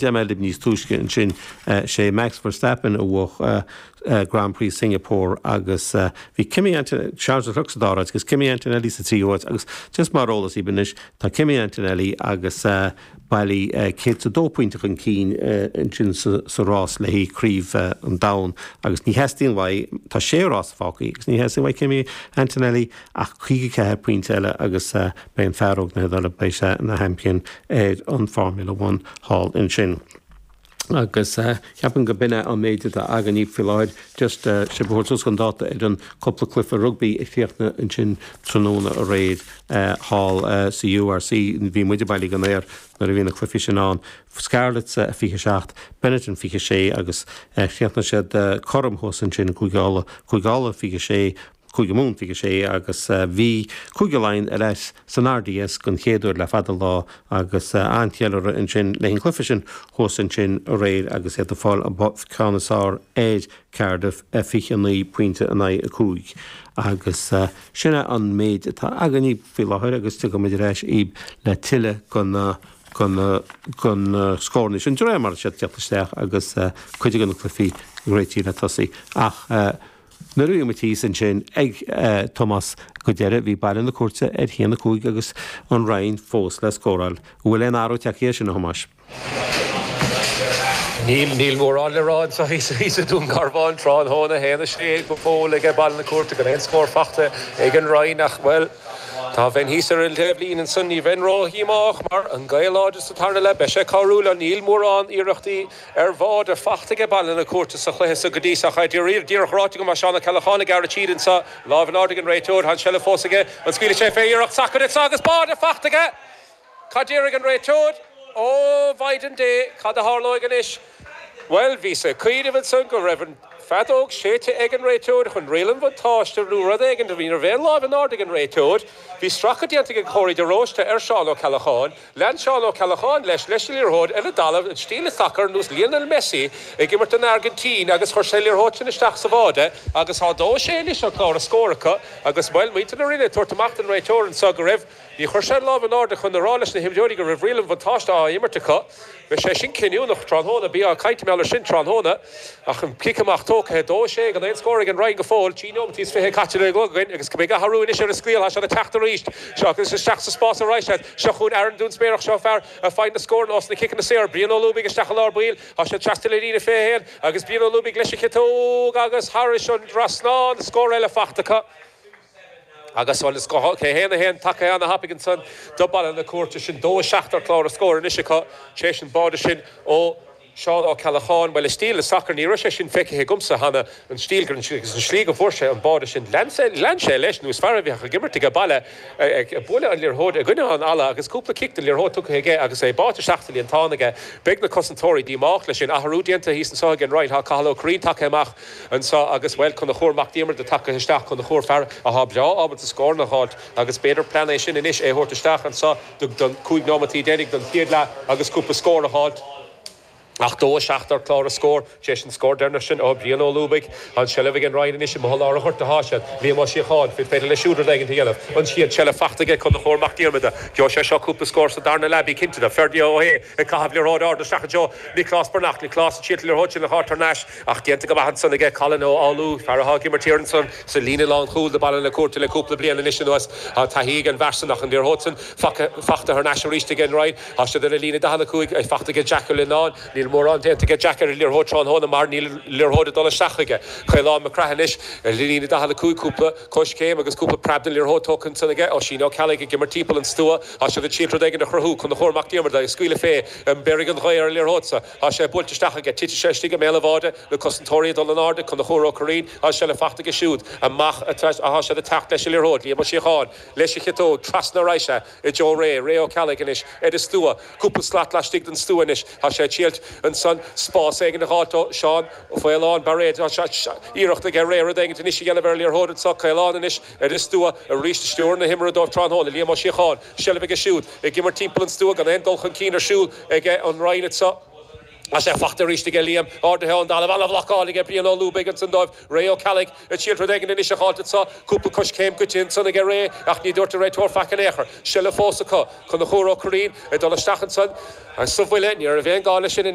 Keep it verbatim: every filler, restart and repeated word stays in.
Deir níos túisce ansin sé Max Verstappen a bhuaigh Grand Prix Singapore agus bhí Kimi Charles Leclerc sa dara agus Kimi Antonelli sa tríú háit agus just mar eolas anois tá Kimi Antonelli agus bailí céad a dó pointe chun cinn ansin sa rás le haghaidh craobh an domhain agus ní theastaíonn uaidh tá sé rás fágtha agus ní theastaíonn uaidh Kimi Antonelli ach caoga ceathair pointe eile agus beidh an fear óg na hIodáile beidh sé ina sheaimpín ar an Formula One thall ansin. agus ceapaim go b'in é an méid atá againn faoi láthair just sé bhúir an dáta ar an cúpla cluiche rugbaí a chríochnaigh ansin tráthnóna aréir thall sa URC bhí muide bailí gan air nuair a bhí na cluichí sin ann. Scarlets a fiche seacht, Benetton fiche sé agus chríochnaigh siad cothrom thuas ansin Cúige Uladh fiche sé Cúige Mumhan fiche sé agus bhí Cúige Laighean ar ais san RDS don chéad uair le fada lá agus an-cheiliúradh ansin le an cluiche sin thuas ansin aréir agus iad ag fáil ceann is fearr ar Cardiff fiche naoi pointe in aghaidh a cúig. agus sin é an méid atá againn faoi láthair agus tiocfaimid ar ais chugaibh le tuilleadh den den den scóranna sin de réir mar siad teacht isteach agus cuid de na cluichí réitithe le tosaí ach Nuair a bhí muid thíos ansin ag Tomás go deireadh bhí Baile na Cúirte ar a haon a cúig agus an Rinn fós le scóráil. Bhfuil aon athrú tagtha air sin a Thomáis. Níl níl mórán le rá anseo thíos i Dún Garbhán tráthnóna haon a sé go fóill ag Baile na Cúirte gan aon scór faighte ag an Rinn ach bhuel Tá bheinn thíos ar an taobhlíne ansan ní bheinn ródhíomách mar an gaoth láidir sa tarna leath beidh sé cabhrúil níl mórán iarrachtaí ar bháide faighte ag Baile na Cúirte sa chluiche sa go dtí seo díreach ráite go Seán Ó Ceallacháin ag gearradh tríd anseo lámh in airde ag an réiteoir an seilbh fós aige an scaoilfidh sé fé iarracht sacair agus báide faighte aige Cad déarfaidh an réiteoir ó Mhaighdean Dé cad a tharlóidh anois Well bhí sé cuiireh san go raibh an feadóg séidte ag an réiteoir chun riail an bhuntáiste nó rud éigin a bhí ar bhéal láimh in airde ag an réiteoir, Bhí stracadh déanta ag Córaí de Róiste ar Seán Ó Ceallacháin, lean Seán Ó Ceallacháin leis leis an liathróid ar an dtalamh an stíl sacair ar nós Lionel Messi ag imirt don Airgintín agus chuir sé liathróid sin isteach sa bháide agus tá dó sé anois ar chlár na scór acu agus bhuel muintir na Rinne ag tabhairt amach don réiteoir anseo go raibh Ní chuir sé lámh in airde chun a rá leis na himreoirí go raibh riail an bhuntáiste á imirt acu. Bhí sé sin cinniúnach tráthnóna bí á caint mé sin tráthnóna ach an cic amach tógtha dó sé gan aon scór ag an Rinn go fóill trí nóiméad is fiche caite le againn agus go mbeidh athrú anois ar an scéal sé teacht arís seo agus isteach sa spás arís seo chun Aaron Dún Spéireach seo fear a faigheann na scór os na ciceanna saor Brian Ó Lúbaigh isteach an lár baill Tá sé trasna le líne fiche haon agus Brian Ó Lúbaigh leis an chiotóg agus thairis an trasnán scór eile faighte acu. Agus bhuel is cé haon a haon tagtha an-thapaidh ansan do Bhaile na Cúirte sin dó seacht ar chlár na scór anois acu sé sin báide sin ó Seán Ó Ceallacháin well i stíl le sacar ní raibh sé sin feicthe agamsa cheana an stíl gur agus an slí go bhfuair sé an báide sin lean sé leis nó is fear a bheadh ag imirt ag baile ag bualadh an liathróid i gcoinne an fhalla agus cúpla cic den liathróid tugtha aige agus é báite isteach sa líontán aige beidh na cosantóirí díomách leis sin athrú déanta thíos anseo ag an Rinn tá Cathal Ó Curraoin tagtha amach anseo agus bhuel Conchúr Mac Diarmada tagtha isteach Conchúr fear atá breá ábalta scór a fháilt agus b'fhéidir plean é sin anois é thabhairt isteach anseo don cúig nóiméad deiridh don chéad leath agus cúpla scór a fháilt. Ach dó seacht ar chlár na scór sé sin scór deireanach sin ó Brian Ó Lúbaigh an seilbh ag an Rinn anois i lár an ghoirt atá siad Liam Ó Síocháin fi féidir le siúd ag an dhéanamh an siad seilbh faighte aige Conchúr Mac Diarmada Gheobhaidh sé seo cúpla scór sa darna leath bí cinnte de Ferdia ó hé ag caitheamh liathróid ard isteach anseo Nioclás Breathnach Nioclás siad liathróid sin le háir ais ach déanta go maith ansan aige Colin Ó Álú fear atá ag imirt ansan sa líne lánchúil do Bhaile na Cúirte le cúpla bliain anois anuas tá taithí ag an bhfear san ach an liathróid sin faighte thar n-ais arís ag an Rinn Tá siad ar a líne daichead a cúig ag faighte aige Jack Ó Lionáin níl mórán déanta aige Jack ar an liathróid tráthnóna mar níl liathróid ag dul isteach aige. Caolán Mac Craith anois ar líne daichead a cúig cúpla coiscéim agus cúpla preab den liathróid tógtha ansan aige Oisín Ó Ceallaigh ag imirt timpeall an stua Tá siad ag triail rud éigin a chruthú Conchúr Mac Diarmada ag scaoileadh fé an mbéarfaidh an ghaoth ar an liathróid sa Tá sé buailte isteach aige titfidh sé istigh i mbéal an bháide na cosantóirí dul in airde Conchúr Ó Curraoin Tá sé le faighte aige siúd amach atá siad ag teacht leis an liathróid Liam Ó Síocháin leis an chiotóg trasna arís i dtreo Ray Ray Ó Ceallaigh anois ar an stua cúpla slat laistigh den stua anois Tá sé ag triail ansan spás éigin a fháilt ó Seán Faoláin Bairéad iarracht aige Ray rud éigin anois a dhéanamh ar liathróid anseo Caolán anois ar an stua arís stiúir na himeartha dóibh tráthnóna Liam Ó Síocháin seilbh aige siúd ag imirt timpeall an stua gan aon dul chun cinn ar siúl aige an Rinn anseo. Tá sé faighte arís aige Liam ardaithe ón dtalamh an-bhlocáil aige Brian Ó Lúbaigh ansan dóibh Ray Ó Ceallaigh ag triail rud éigin anois a fháilt anseo cúpla coiscéim goite ansan aige Ray ach ní dúirt an réiteoir faic in aon chor. Seilbh fós acu Conchúr Ó Curraoin ag dul isteach ansan sa bhuille ní raibh aon ghá leis sin